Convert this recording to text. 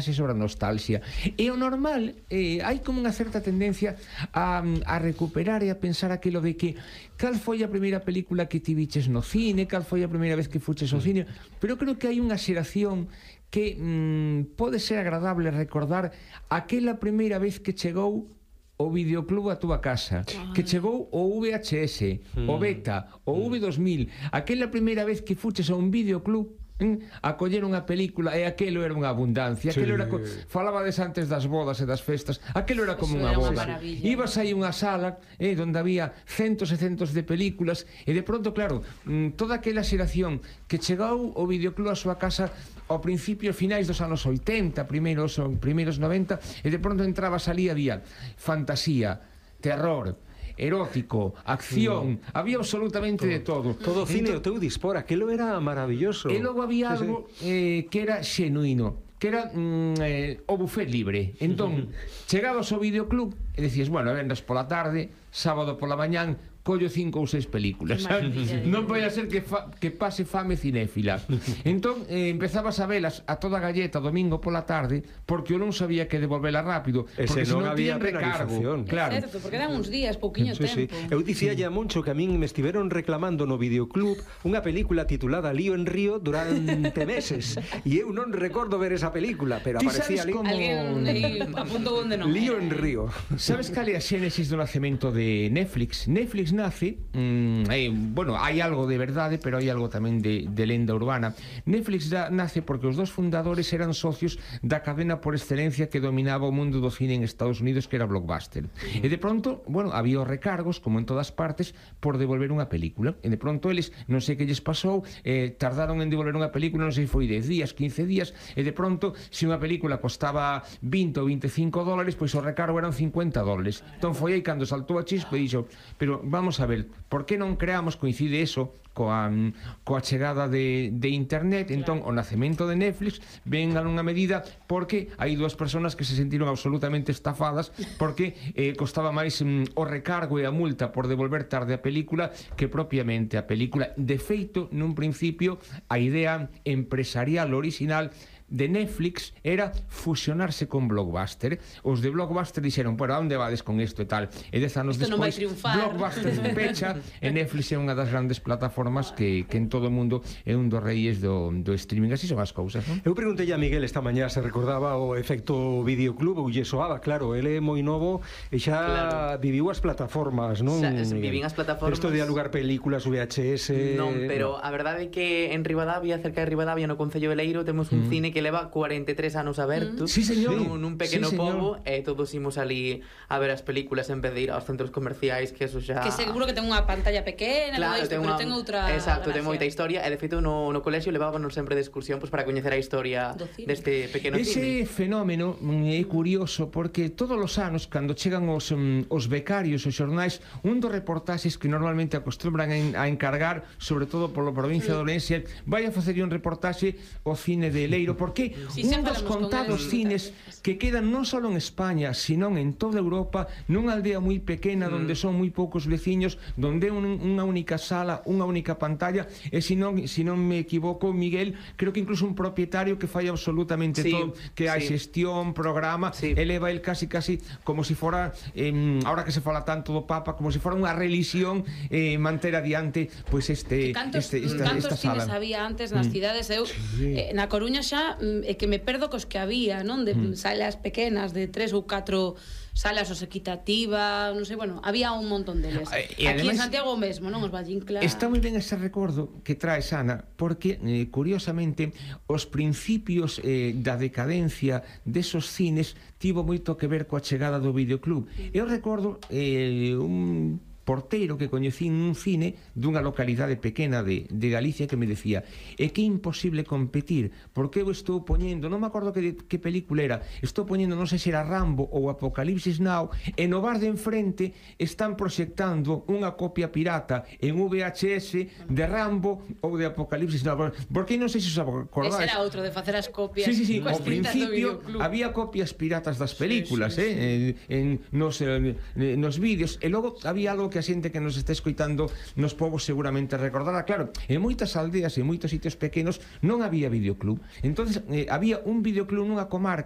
sobre a nostalgia. E o normal, hai como unha certa tendencia a recuperar e a pensar aquilo de que cal foi a primeira película que ti viches no cine, cal foi a primeira vez que fuches ao cine, pero creo que hai unha xeración que pode ser agradable recordar aquela primeira vez que chegou o videoclub a túa casa, que chegou o VHS, o Beta, o V2000, aquela primeira vez que fuches a un videoclub a coller unha película, e aquelo era unha abundancia, aquelo era falabades antes das bodas e das festas, aquelo era como unha boda. Ibas aí unha sala onde había centos e centos de películas, e de pronto, claro, toda aquela xeración que chegou o videoclub a súa casa ao principio, finais dos anos 80, primeiros 90, e de pronto entrabas ali, había fantasía, terror, erótico, acción, había absolutamente de todo. Todo cine o teu dispor, aquilo era maravilloso. E logo había algo que era xenuíno, que era o buffet libre. Entón, chegabas ao videoclub e decías, bueno, vendas pola tarde, sábado pola mañán, collo 5 ou 6 películas, non vai a ser que pase fame cinéfila. Entón empezabas a velas a toda galleta domingo pola tarde, porque eu non sabía que devolvela rápido, porque senón había recargo. Claro, porque eran uns días, pouquiño tempo. Eu dicía a Moncho que a min me estiveron reclamando no videoclub unha película titulada Lío en Río durante meses, e eu non recordo ver esa película, pero aparecía ali. Alguén apuntou onde non. Lío en Río. Sabes cal é a xénesis do nacemento de Netflix? Netflix nace, bueno, hai algo de verdade, pero hai algo tamén de lenda urbana. Netflix nace porque os dos fundadores eran socios da cadena por excelencia que dominaba o mundo do cine en Estados Unidos, que era Blockbuster. E de pronto, bueno, había os recargos, como en todas partes, por devolver unha película. E de pronto eles, non sei que lles pasou, tardaron en devolver unha película, non sei se foi 10 días, 15 días, e de pronto, se unha película costaba 20 ou 25 dólares, pois o recargo eran 50 dólares. Entón foi aí cando saltou a chispa e dixo, pero vamos a ver, por que non creamos, coincide eso coa chegada de internet, entón o nacemento de Netflix ven a unha medida porque hai dúas persoas que se sentiron absolutamente estafadas porque costaba máis o recargo e a multa por devolver tarde a película que propiamente a película. De feito, nun principio, a idea empresarial original de Netflix era fusionarse con Blockbuster. Os de Blockbuster dixeron, bueno, a onde vades con isto e tal, e 10 anos despois Blockbuster pecha e Netflix é unha das grandes plataformas que en todo o mundo é un dos reis do streaming. Así son as cousas, non? Eu preguntei a Miguel esta mañá se recordaba o efecto videoclub ou lle soaba, claro, ele é moi novo e xa viviu as plataformas, non? Vivín as plataformas. Isto de alugar películas VHS. Non, pero a verdade é que en Ribadavia, cerca de Ribadavia, no Concello de Leiro, temos un cine que leva 43 anos aberto. Sí, señor. Nun pequeno pobo, e todos imos ali a ver as películas en vez de ir aos centros comerciais, que eso xa... Que seguro que ten unha pantalla pequena, claro, pero ten outra... Exacto, ten moita historia, e de feito no colexio levábanos sempre de excursión para coñecer a historia deste pequeno Ese cine. fenómeno é curioso porque todos os anos, cando chegan os becarios, os xornais, un dos reportaxes que normalmente acostumbran a encargar, sobre todo polo provincia de Ourense, vai a facer un reportaxe ao cine de Leiro, porque un dos contados cines que quedan non só en España, sino en toda Europa, nunha aldea moi pequena onde son moi poucos veciños, onde é unha única sala, unha única pantalla, e se non me equivoco, Miguel, creo que incluso un propietario que fai absolutamente todo, que hai xestión, programa, eleva el casi como se fora, ahora que se fala tanto do Papa, como se fora unha religión, manter adiante pois esta sala. Cantos cines había antes nas cidades? Eu na Coruña xa que me perdo cos que había, non? De salas pequenas, de 3 ou 4 salas os equitativa, non sei, bueno, había un montón deles. Aquí en Santiago mesmo, non? Os Vallincla. Está moi ben ese recordo que traes, Ana, porque, curiosamente, os principios da decadencia desos cines tivo moito que ver coa chegada do videoclub. Eu recordo un porteiro que coñecín nun cine dunha localidade pequena de Galicia que me decía, é que é imposible competir porque eu estou poñendo, non me acordo que película era, estou poñendo, non sei se era Rambo ou Apocalipsis Now, e no bar de enfrente están proxectando unha copia pirata en VHS de Rambo ou de Apocalipsis Now, porque non sei se os acordáis. Ese era outro de facer as copias. Sí, ao principio había copias piratas das películas nos vídeos, e logo había algo que que a xente que nos está escoitando nos povos seguramente recordará. Claro, en moitas aldeas e moitos sitios pequenos non había videoclub. Entonces había un videoclub nunha comarca